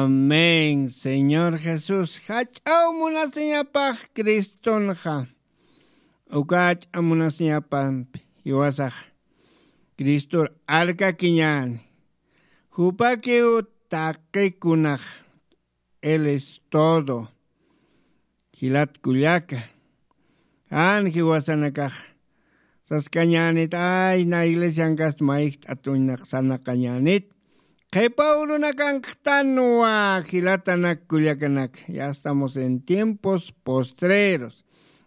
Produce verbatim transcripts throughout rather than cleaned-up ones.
Amén. Señor Jesús, jach'aw munasiñapax Cristonxa. Uka jach'a munasiñapampi jiwasax Cristor arkakiñäni. Jupakiw taqikunax. Él es todo. Jilat kullaka, jan jiwasanakax saskañänit, ay na iglesiankast mayjt'at uñnaq sarnaqañänit. Qhipa urunakankxtanwa. Jilatanak kullakanak, ya estamos en tiempos postreros,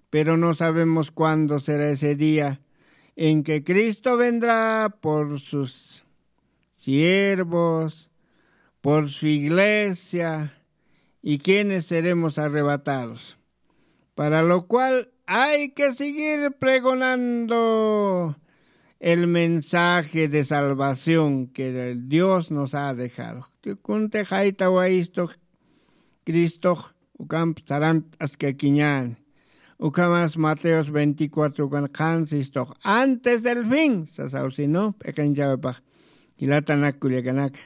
pero no sabemos cuándo será ese día en que Cristo vendrá por sus siervos, por su iglesia, y quienes seremos arrebatados. Para lo cual hay que seguir pregonando el mensaje de salvación que el Dios nos ha dejado. Kunti jaytawayistu Cristox ukamp sarant'askakiñäni. Ukhamas Mateos veinticuatro ukan qhansistoq, antes del fin sasaw, sino p'iqinchawipax. Jilatanak kullakanaka,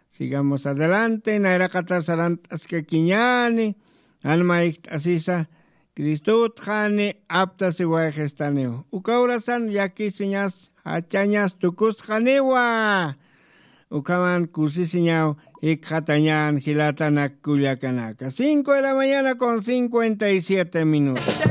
sigamos adelante. Nayraqatar sarant'askakiñäni, jan mayjt'asisa Cristotxani aptasiwayxistaniw. Uka urasan llakisiñas jachañas tukusxaniwa. Ukhaman kusisiñaw jikxatañän jilatanak kullakanaka. Cinco de la mañana con cincuenta y siete minutos.